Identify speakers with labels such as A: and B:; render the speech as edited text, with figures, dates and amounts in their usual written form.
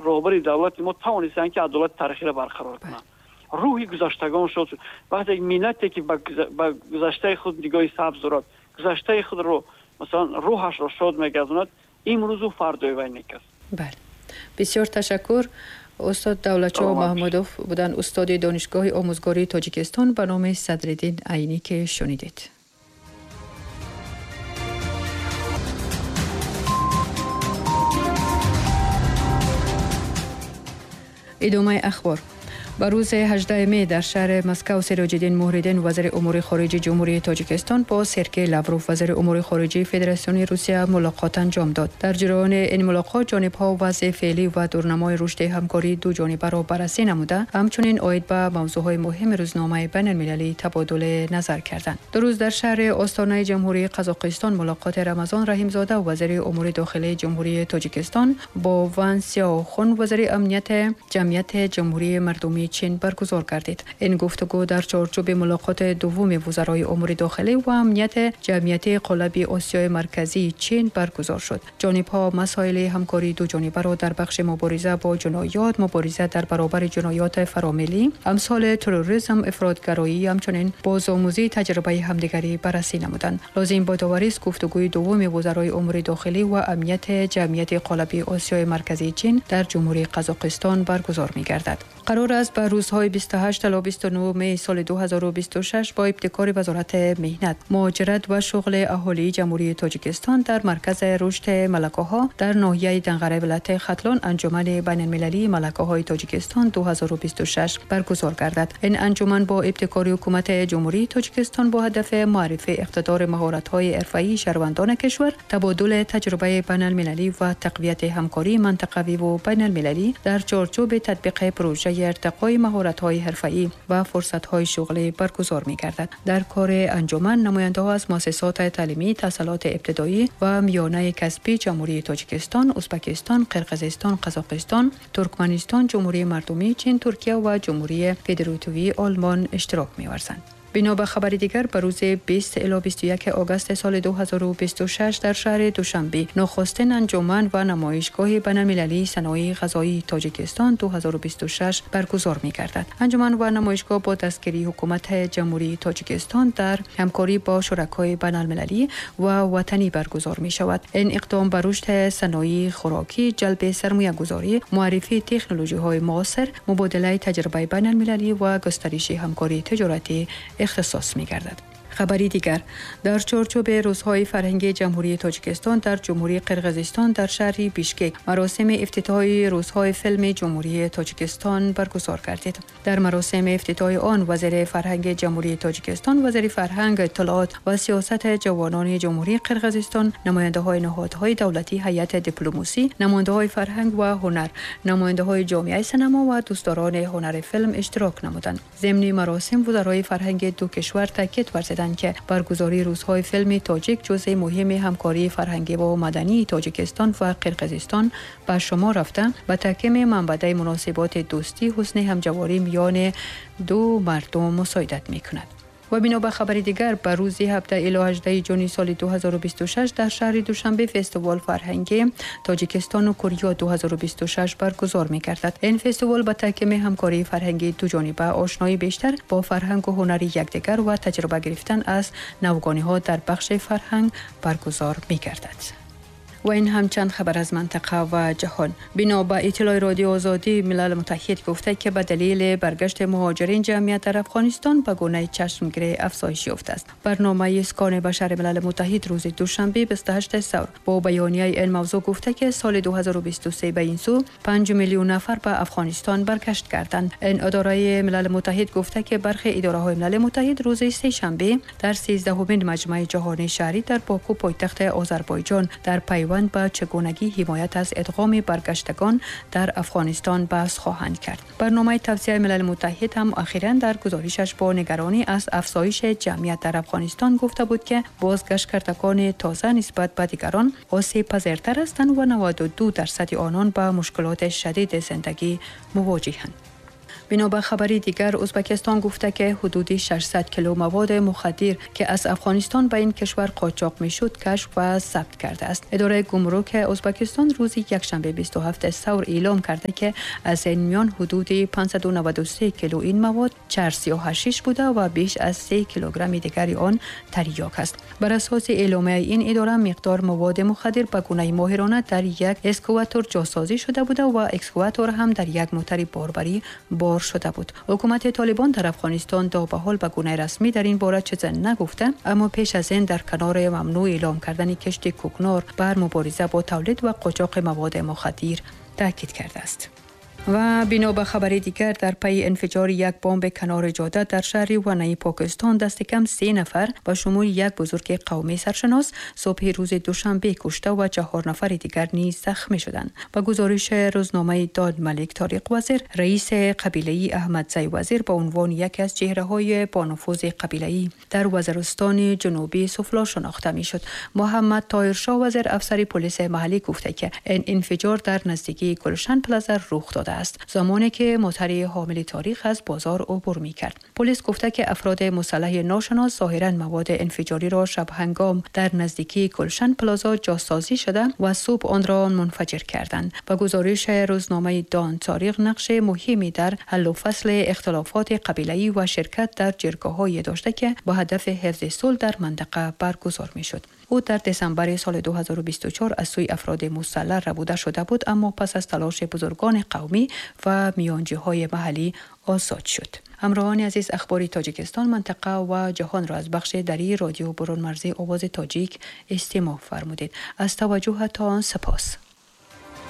A: Роҳбари давлати мо тавонистанд, ки адолати таърихиро барқарор кунанд. Рӯҳи гузаштагон шод шуд. Вақте миллате ки ба гузаштаи худ нигоҳи сабз дорад, гузаштаи худро масалан рӯҳашро шод мегардонад, имрӯзу фардои вай нек аст.
B: Бале, бисёр ташаккур. Устод Давлатшоҳ Маҳмудов буданд, устоди Донишгоҳи омӯзгории Тоҷикистон ба номи Садриддин Айнӣ, ки шунидед. Идомаи ахбор. Ба рӯзи 18 май дар шаҳри Москав Сироҷиддин Муҳриддин, вазири умури хориҷии Ҷумҳурии Тоҷикистон, бо Сергей Лавров, вазири умури хориҷии Федератсияи Русия, мулоқот анҷом дод. Дар ҷараёни ин мулоқот ҷонибҳо вазъи феълӣ ва дурнамои рушди ҳамкории дуҷонибаро баррасӣ намуда, ҳамчунин оид ба мавзӯъҳои муҳими рӯзномаи байналмилалӣ табодули назар карданд. Ду рӯз дар шаҳри Остонаи Ҷумҳурии Қазоқистон мулоқоти Рамазон Раҳимзода, вазири умури дохилии Ҷумҳурии Тоҷикистон, бо Ван Сяохун, вазири амнияти ҷамъияти Ҷумҳурии Мардумии Чин баргузор гардид. Ин гуфтугӯ дар чорчӯби мулоқоти дуввуми вузарои умури дохилӣ ва амнияти ҷамъияти қолаби Осиёи Марказии Чин баргузор шуд. Ҷонибҳо масоили ҳамкории дуҷонибаро дар бахши мубориза бо ҷиноят, мубориза дар баробари ҷиноёти фаромиллӣ, амсоли терроризм, ифротгароӣ, ҳамчунин бозомӯзии таҷрибаи ҳамдигарӣ баррасӣ намуданд. Лозим бодоварист, гуфтугӯи дуввуми вузарои умури дохилӣ ва амнияти ҷамъияти қолаби Осиёи Марказии Чин дар Ҷумҳурии Қазоқистон баргузор мегардад. Қарор аст ба рӯзҳои 28 то 29 май соли 2026 бо ибтикори Вазорати меҳнат, муҳоҷират ва шуғли аҳолии Ҷумҳурии Тоҷикистон дар Маркази рушди малакаҳо дар ноҳияи Данғараи вилояти Хатлон анҷумани байналмилалии малакаҳои Тоҷикистон 2026 баргузор гардад. Ин анҷуман бо ибтикори Ҳукумати Ҷумҳурии Тоҷикистон бо ҳадафи муаррифии иқтидори маҳоратҳои ҳирфаии шаҳрвандони кишвар, табодули таҷрибаи байналмилалӣ ва тақвияти ҳамкории мантақавӣ ва байналмилалӣ дар чорчӯби татбиқи пруҷаи иртиқои маҳоратҳои ҳирфаӣ ва фурсатҳои шуғлӣ баргузор мегардад. Дар кори анҷуман намояндаҳо аз муассисоти таълимӣ, таҳсилоти ибтидоӣ ва миёнаи касбии Ҷумҳурии Тоҷикистон, Ӯзбекистон, Қирғизистон, Қазоқистон, Туркманистон, Ҷумҳурии Мардумии Чин, Туркия ва Ҷумҳурии Федеративии Олмон иштирок меварзанд. Бино ба хабари дигар, ба рӯзи 20 ило 21 огаст соли 2026 дар шаҳри Душанбе нахустин анҷуман ва намоишгоҳи байналмилалии саноии ғизоии Тоҷикистон 2026 баргузор мегардад. Анҷуман ва намоишгоҳ бо дастгирии Ҳукумати Ҷумҳурии Тоҷикистон дар ҳамкорӣ бо шуракои байналмилалӣ ва ватанӣ баргузор мешавад. Ин иқдом ба рушди саноии хӯрокӣ, ҷалби сармоягузорӣ, муаррифии технологияҳои муосир, мубодилаи таҷрибаи байналмилалӣ ва густариши ҳамкории тиҷоратӣ ихтисос мегардад. Хабари дигар. Дар чорчӯби рӯзҳои фарҳангии Ҷумҳурии Тоҷикистон дар Ҷумҳурии Қирғизистон дар шаҳри Бишкек маросими ифтитоҳи рӯзҳои филми Ҷумҳурии Тоҷикистон баргузор гардид. Дар маросими ифтитоҳи он вазири фарҳанги Ҷумҳурии Тоҷикистон, вазири фарҳанг, иттилоот ва сиёсати ҷавонони Ҷумҳурии Қирғизистон, намояндаҳои ниҳодҳои давлатӣ, ҳайати дипломасӣ, намояндаҳои фарҳанг ва ҳунар, намояндаҳои ҷомеаи синема ва дӯстдорони ҳунари филм иштирок намуданд. Зимни маросим вузарои фарҳанги ду кишвар таъкид варзиданд, ки баргузории рӯзҳои филми тоҷик ҷузъи муҳими ҳамкории фарҳангӣ ва мадании Тоҷикистон ва Қирғизистон ба шумор рафта, ба таҳкими манбаъи муносиботи дӯстӣ, ҳусни ҳамҷаворӣ миёни ду мардум мусоидат мекунад. Ва бино ба хабари дигар, ба рӯзи 17 ило 18 ҷуни соли 2026 дар шаҳри Душанбе фестивал фарҳангии Тоҷикистону Корея 2026 баргузор мегардад. Ин фестивал ба таҳкими ҳамкории фарҳангии дуҷониба, ошноии бештар бо фарҳангу ҳунари якдигар ва таҷриба гирифтан аз навгониҳо дар бахши фарҳанг баргузор мегардад. Ва ин ҳам чанд хабар аз минтақа ва ҷаҳон. Бино ба иттилои Радиои Озодӣ, Милал Муттаҳид гуфта, ки ба далели баргашти муҳоҷирин ҷамъият дар Афғонистон ба гунаи чашмгирӣ афзоиш ёфтааст. Барномаи Искони башари Милал Муттаҳид рӯзи душанбе 28 савр бо баёнияи ин мавзӯъ гуфта, ки соли 2023 ба ин сӯ 5 миллион нафар ба Афғонистон баргашт карданд. Ин идораи Милал Муттаҳид гуфта, ки бархе идораҳои Милал Муттаҳид рӯзи сешанбе дар 13-умин маҷмаи ҷаҳонии шаҳрӣ дар Боку, пойтахти Озарбойҷон, дар пайванд ба чигунагии ҳимоят аз идғоми баргаштагон дар Афғонистон баҳс хоҳанд кард. Барномаи тавсияи Милал Муттаҳид ҳам охиран дар гузоришаш бо нигаронӣ аз афзоиши ҷамъият дар Афғонистон гуфта буд, ки бозгашткардагони тоза нисбат ба дигарон осебпазиртар ҳастанд ва 92% онон ба мушкилоти шадиди зиндагӣ мувоҷиҳанд. Бино ба хабари дигар, Ӯзбекистон гуфта ки ҳудуди 600 кило маводи мухаддир ки аз Афғонистон ба ин кишвар қочоқ мешуд, кашф ва сабт кардааст. Идораи гумрук Ӯзбекистон рӯзи якшанбе 27 савр эълом карда ки аз ин миён ҳудуди 593 кило ин мавод чарс ё ҳашиш буда ва беш аз 3 килограмми дигари он тарёк аст. Бар асоси эъломияи ин идора, миқдор маводи мухаддир ба гунаи моҳирона дар як экскаватор ҷосозӣ шуда буда ва экскаватор ҳам дар як мотори борбарӣ бор шуда буд. Ҳукумати Толибон дар Афғонистон то ба ҳол ба гунаи расмӣ дар ин бора чизе нагуфта, аммо пеш аз ин дар канори мамнӯъ эълом кардани кишти кӯкнор бар мубориза бо тавлид ва қочоқи маводи мухаддир таъкид кардааст. Ва бино ба хабари дигар, дар пайи инфиҷори як бомб канори ҷода дар шаҳри Ванаи Покистон дасти кам 3 нафар ба шумули як бузурги қавмии саршинос субҳи рӯзи душанбе кушта ва 4 нафари дигар низ захмӣ шуданд. Ба гузориши рӯзномаи Дод Малик Ториқ Вазир, раиси қабилаи Аҳмадзай Вазир ба унвони яке аз чеҳраҳои бонуфузи қабилаӣ дар Вазиристони ҷанубии Суфло шинохта мешуд. Муҳаммад Тоҳиршоҳ Вазир, афсари полиси маҳаллӣ, гуфта ки ин инфиҷор дар наздикии Гулшан Плаза рух додааст, замоне ки мотори ҳомили таърих аз бозор убур мекард. Полис гуфта ки афроди мусаллаҳи ношинос зоҳиран маводи инфиҷориро шабҳангом дар наздикии Гулшан Плаза ҷосозӣ шуда ва субҳ онро мунфаҷир карданд. Ба гузориши рӯзномаи Дон Тариқ, нақши муҳиме дар ҳаллу фасли ихтилофоти қабилаӣ ва ширкат дар ҷиргоҳҳое дошта ки ба ҳадафи ҳифзи сулҳ дар минтақа баргузор мешуд. Ӯ дар десембри соли 2024 аз сӯи афроди мусаллаҳ рабуда шуда буд, аммо пас аз талоши бузургони қавмӣ ва миёнҷиҳои маҳаллӣ озод шуд. Ҳамроҳони азиз, ахбори Тоҷикистон, минтақа ва ҷаҳонро аз бахши дарии радио Бурунмарзии Овози Тоҷик истимоъ фармудед. Аз таваҷҷӯҳатон сипос.